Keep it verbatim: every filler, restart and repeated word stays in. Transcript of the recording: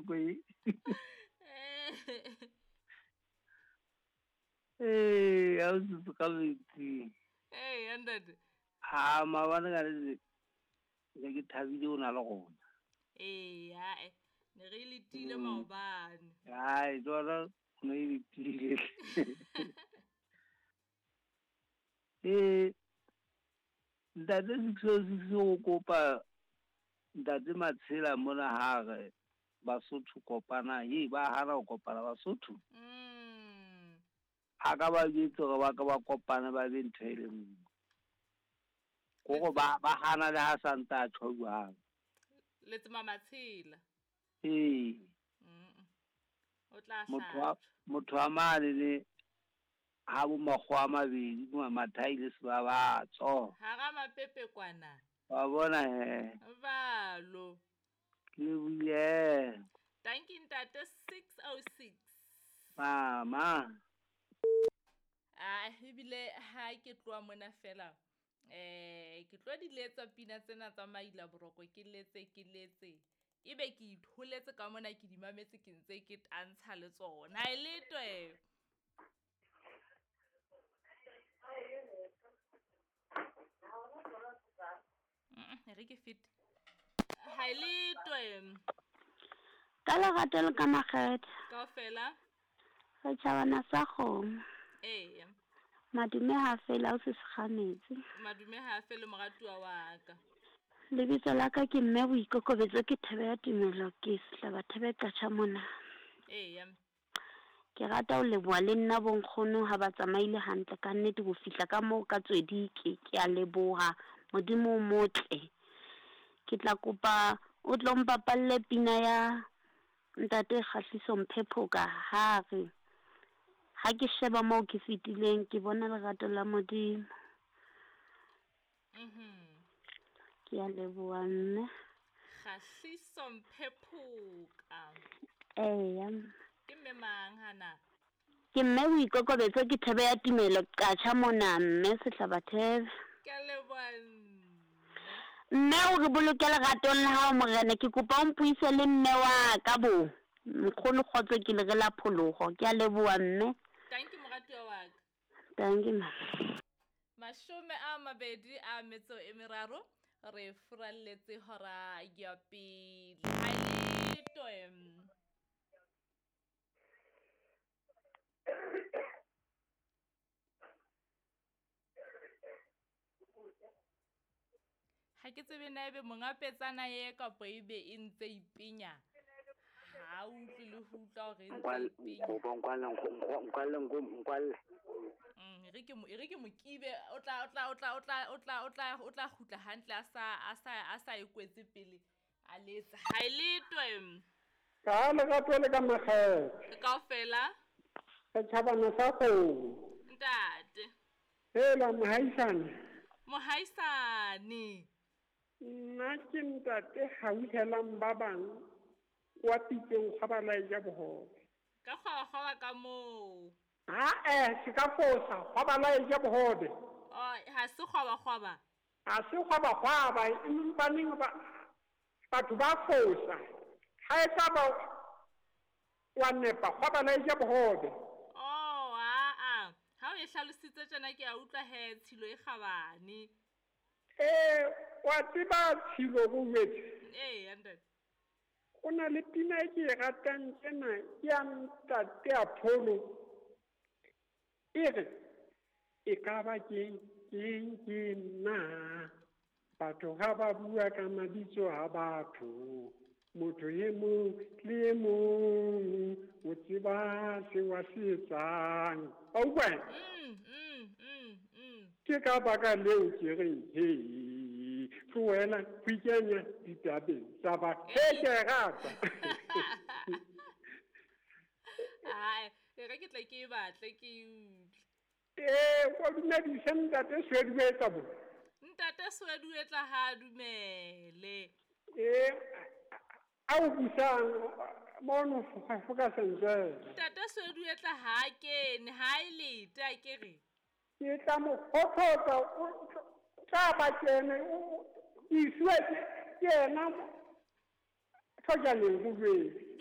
nako e. Ee, a o setse ka metsi. Ee, ntate. Ha maobane ka nnete ne ke thabile o na le rona. Ee, ae ne re letile maobane. Hai, tsona ne e letile. Ee, ntate six oh six o kopa ntate Matshela mona ha re Basotho kopana, ye ba hana ho kopana Basotho. Mm. A ka ba jwetse hore ba ka ba kopana ba be ntho e le nngwe. Kore ba ba hana le ha santse a tjho jwalo. Letsema Matshela. Ee. Mm. O tla Motho wa hlajwa. motho wa mane le ha bo makgowa a mabedi Mathai le Sebabatso. Hara mapepe kwana. Wa bona he. Balo. Ke lebohile. Thank you ntate six oh six. Mama. Ah, ebile ha ke tloha mona fela. Eh, ke tlo di letsa pina tsena tsa Maila Boroko, ke letse ke letse. Ebe ke itholetse ka mona ke di mametse ke ntse ke tantsha le tsona. Ha e letwe. Mm, re ke fit. Ha e letwe. Ka lerato le ka makgethe. Kaofela. Re tjhabana sa kgomo. Ee. Madume ha fela o se sekgametse. Madume ha fele moratuwa wa ka. Lebitso la ka ke mme Boikokobetso, ke Thebe ya Tumelo, ke Sehlaba Thebe Qatjha mona. Ee. Ke rata ho leboha le nna bonkgono ha ba tsamaile hantle ka nnete ho fihla ka moo ka Tswedike. Ke a leboha, Modimo o motle. Ke tla kopa o tlo mpapalle pina ya ntate Kgahliso Mphephoka ha re ha ke sheba moo ke fetileng ke bona lerato la Modimo. Mhm. Ke a leboha mme. Kgahliso Mphephoka. Eya. Ke mme mang hana? Ke mme Boikokobetso, ke Thebe ya Tumelo Qatjha mona mme Sehlaba Thebe. Ke a leboha mme. Mme o re boloke leratong la hao morena, ke kopa o mpuise le mme wa ka bo. Nkgono kgotso ke le re la pholoho. Ke a leboha mme. Thank you moratuwa wa ka. Thank you ma. Mashome a mabedi a metso e meraro re furalletse hora ya pele. Ha e letwe. Ha ke tsebe na ebe monga petsana ye kapa ebe e ntse ipenya. Ha o utlwe le ho utlwa hore e ntse ipenya. Nkwale, nkwale, nkwale. Mm, e re ke mo, e re ke mokibe o tla o tla o tla o tla o tla o tla o tla kgutla hantle a sa a sa a sa e kwetse pele a letsa. Ha e letwe. Ka lerato le ka makgethe. Kaofela. Re tjhabana sa kgomo. Ntate. Hela mohaisane. Mohaisane. Nna ke ntate hauhelang ba bang wa pitseng kgwa ba laeja bohobe. Ka kgwa kgwa ka moo. Ha eh se ka fosa kgwa ba laeja bohobe. Oh, ha se kgwa kgwa ba. Ha se kgwa kgwa ba empa neng ba batho ba fosa. Ha e tla ba wa nepa kgwa ba laeja bohobe. Oh, a a. Ha o e hlalositse tjena ke a utlwa he tshilo e kgabane. Eh, wa tseba tshilo bo jwetse. Ee, ntate. Ho na le pina e ke e ratang tjena ya ntate Apollo. E re e ka ba ke ke ke nna batho ha ba bua ka mabitso a batho. Motho e mong le e mong o tseba seo a se etsang. Wa utlwa? Mm, mm, mm, mm. Ke ka baka leo ke reng he tlohela ho ikenya ditabeng tsa batho. He ke e rata. Ai, e re ke tle ke e batle ke e utlwe. Ee, wa dumedise ntate Sweduetla bo. Ntate Sweduetla ha dumele. Ee, a o busang mono foka sentle. Ntate Sweduetla ha kene, ha e lete a ke re. Ke tla mo kgothatsa o tla ba kene o isiwe ke yena thojaneng ho jwetse.